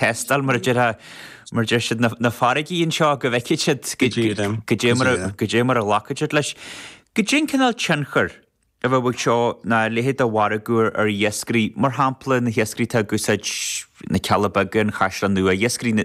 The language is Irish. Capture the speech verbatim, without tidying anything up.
Tástáil mar a deir mar deir siad na farraigí anseo go bhfeicfidh siad goidé mar a ghlacfaidh siad leis. Goidé an cineál tionchar a bheadh ag seo ná a leithéid de mhargadh ar iascairí, mar shampla na hiascairí atá ag úsáid na Cealla Beaga, an Chaisleán Nua, iascairí